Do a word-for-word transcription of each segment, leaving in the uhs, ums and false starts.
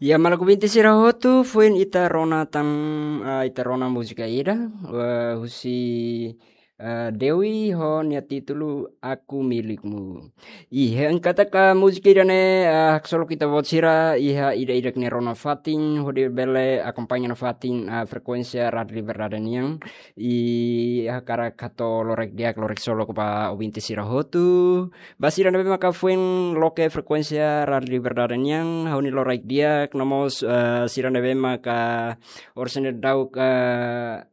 Ya, maluk ouvinte sira hotu, foin ita rona tan, ah, ita rona múzika ida, eh, husi, eh, Dewi ho nia títulu Aku Milikmu. Iha angkata ka múzika ida-ne'e, ah, haksolok ita-boot sira iha ida-idak nia rona fatin, hodi bele akompaña nafatin, ah, frekuénsia Rádiu Liberdade nian. I hakarak hato'o loraik di'ak, loraik solok ba ouvinte sira hotu. Ba sira ne'ebé maka foin loke frekuénsia Rádiu Liberdade nian, ha'u-nia loraik di'ak, no mós, eh, sira ne'ebé maka oras ne'e daudauk, eh,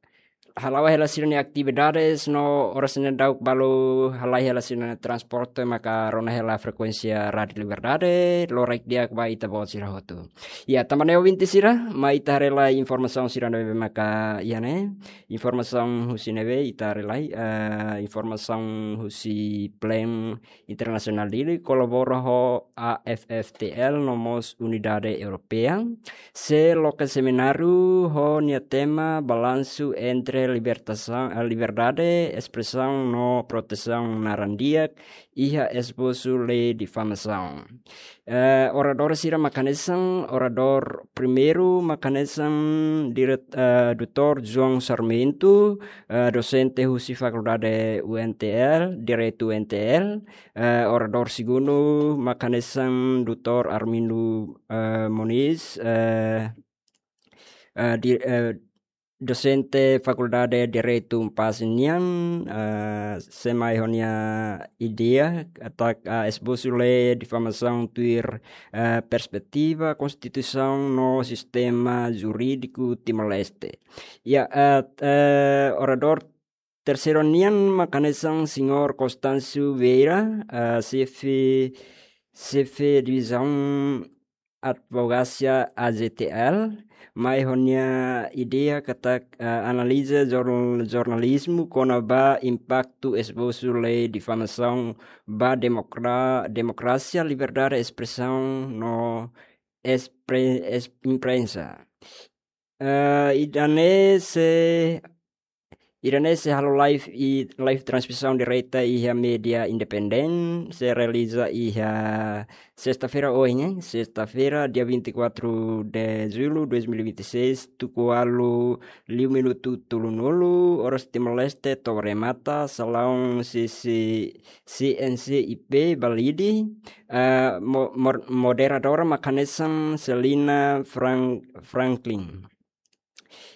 hala'o hela sira-nia atividades, no oras ne'e daudauk balu halai hela sira-nia transporte maka rona hela frekuénsia Rádiu Liberdade, loraik di'ak ba ita-boot sira hotu. Ya, tanba ne'e ouvinte sira, mai ita haree lai informasaun sira ne'ebé maka iha ne'e. Informasaun husi ne'ebé ita haree lai, eh, informasaun husi Plan Internasionál Dili kolabora ho A F F T L no mós Unidade Europeia. Sei loke semináriu ho nia tema Balansu entre Libertasaun, eh, Liberdade Espresaun no Protesaun Naran-Di'ak iha Esbosu Lei Difamasaun. Eh, oradór sira mak hanesan, oradór primeiru mak hanesan diret-, eh, doutór João Sarmento, eh, dosente husi Fakuldade U N T L, Direitu U N T L, eh, oradór segundu mak hanesan doutór Armindo, eh, Moniz, eh, eh, di-, eh, dosente Fakuldade Direitu Unpaz nian, eh, sei mai ho nia ideia, katak, eh, esbosu lei difamasaun tuir, eh, perspetiva, konstituisaun no sistema jurídiku Timor-Leste. Ya, eh, eh, oradór terseiru nian mak hanesan Señór Constâncio Vieira, eh, xefe, xefe divizaun advokasia A J T L, mai ho nia ideia katak, eh, analiza jor-, jornalizmu kona-ba impaktu esbosu lei difamasaun ba demokra-, demokrasia, liberdade espresaun no espre-, es-, imprensa. Eh, ida-ne'e sei, ida-ne'e sei halo live i live transmisaun direta iha média independente, sei realiza iha sesta-feira ohin, sesta-feira, dia vinte e quatro de julho dois mil e vinte e seis, tuku ualu liu minutu tolunulu, oras Timor-Leste, to'o remata, salaun C C, C N C I P Balide, eh, mo-, mor-, moderadora mak hanesan Selina Frank-, Franklin.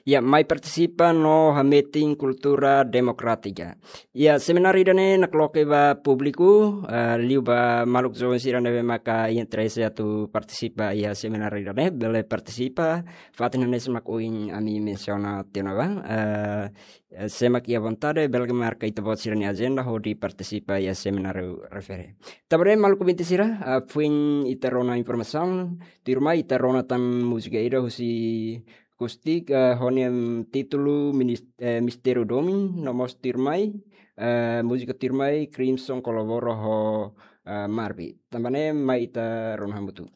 Ya, mai partisipa no hametin kultura demokrátika. Ya, semináriu ida-ne'e nakloke ba públiku, eh, liu ba maluk joven sira ne'ebé maka interese atu partisipa iha semináriu ida-ne'e, bele partisipa, fatin hanesan mak ohin ami mensiona tiha ona ba, eh, eh, sé mak iha vontade, bele marka ita-boot sira-nia ajenda hodi partisipa iha semináriu refere. Tanba ne'e maluk ouvinte sira, eh, foin ita rona informasaun, tuirmai ita rona tan múzika ida husi Kustik, eh, ho nia títulu minis-, eh, Mistériu Domin, no mós tuirmai, eh, múzika tuirmai Crimson kolabora ho, eh, Marvi. Tanba ne'e mai ita rona hamutuk.